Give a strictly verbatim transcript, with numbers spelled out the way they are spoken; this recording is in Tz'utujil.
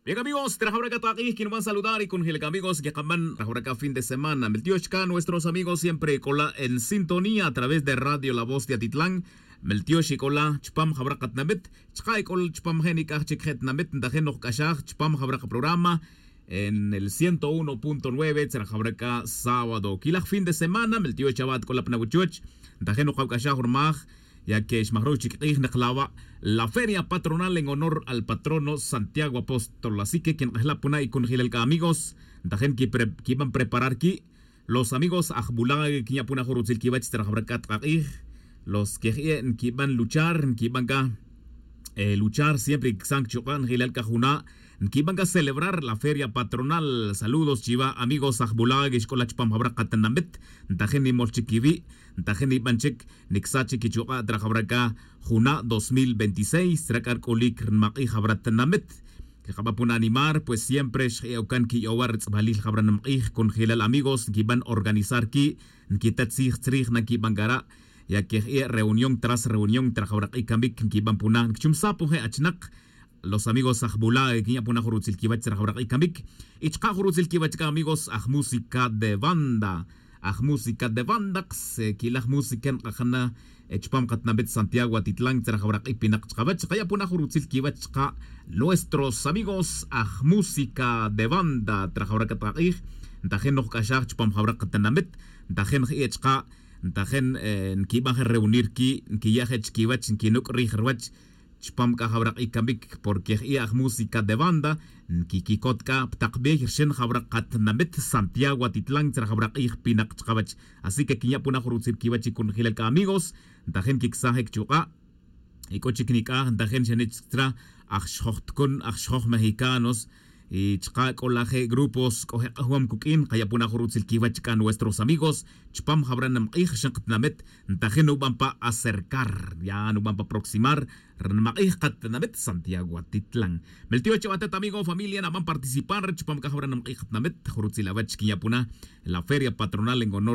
Bien amigos, trajawra c'a tak'ij quinban saludar y conjila c'a amigos quekaban trajawra c'a fin de semana miltiox c'a nuestros amigos siempre c'ola en sintonía a través de radio la voz de atitlán. Miltiox y c'ola chupam jawra katinamit chka' y c'ola chupam je' nic'aj chic je' tinamit ntajin nojc'axaj chupam jawra kaprograma en el ciento uno punto nueve tzra jawra c'a sábado quilaj fin de semana miltiox chawa' tic'ola pa nawachuch. Ntajin nokawc'axaj rmaj ya que xmajruj chic k'ij nikla wa' la feria patronal en honor al patrono santiago apóstol así que quink'ejla' puna' y conjelal c'a amigos ntajin quiban preparar qui' los amigos ajbula' quinya' puna' jun rutzil quiwech tzra jawra c'a tak'ij los queji'e' nquiban luchar nquiban c'a luchar siempre quicsan chuk'a' njelal c'a juna' nquiban c'a celebrar la feria patronal saludos chiwa' amigos ajbula' quixc'ola' chupam jawra katinamit. Ntajin nimol chic quiwi' ntajin niban chic nicsach chic quichuk'a' tzra jawra c'a juna' dos mil veintiséis tzra c'a rc'ulic rnimak'ij jawra tinamit. Quekaba' puna' animar pues siempre xje'ocan quiyowa' ritz'balil jawra nimak'ij conjelal amigos nquiban organizar qui' nquita tzij tzrij na nquiban cara' ya que je'e' reunión tras reunión tzra jawra k'ij camic nquiban puna' nquichumsaj pun je' achinak los amigos ajbula' quinya' puna' jun rutzil quiwech tzra jawra k'ij camic. Y chka' jun rutzil quiwech c'a amigos ajmúsica de banda ajmúsica de banda. Quilaj música nk'ajana chupam katinamit santiago atitlan tzra jawra k'ij pinak chkawech kaya' puna' jun rutzil quiwech chka' nuestros amigos ajmúsica de banda tzra jawra c'a tak'ij ntajin nojc'axaj chupam jawra katinamit. Ntajin je'e' chka' ntajin nquiban je reunir qui' nquiya' je chiquiwech nquinuc' rij ruwech chupam c'a jawra k'ij camic porque je'e' ajmúsica de banda nquiquicot c'a pa tak bey rxin jawra katinamit santiago atitlan tzra jawra k'ij pinak chkawech. Así que quinya' puna' jun rutzil quiwech y conjelal c'a amigos ntajin quicsaj je quichuk'a' y c'o chic nic'aj ntajin xane' chic tzra aj xjoj tucun aj xjoj mexicanos y chka' c'o laje' grupos c'o je' k'ajwom cuq'uin kaya' puna' jun rutzil quiwech c'a nuestros amigos chupam jawra nimak'ij rxin katinamit. Ntajin nuban pa acercar ya nuban pa aproximar rnimak'ij katinamit santiago atitlan. Miltiox chawa' atet amigo familia naban participar chupam c'a jawra nimak'ij katinamit jun rutzil awech quinya' puna' la feria patronal en honor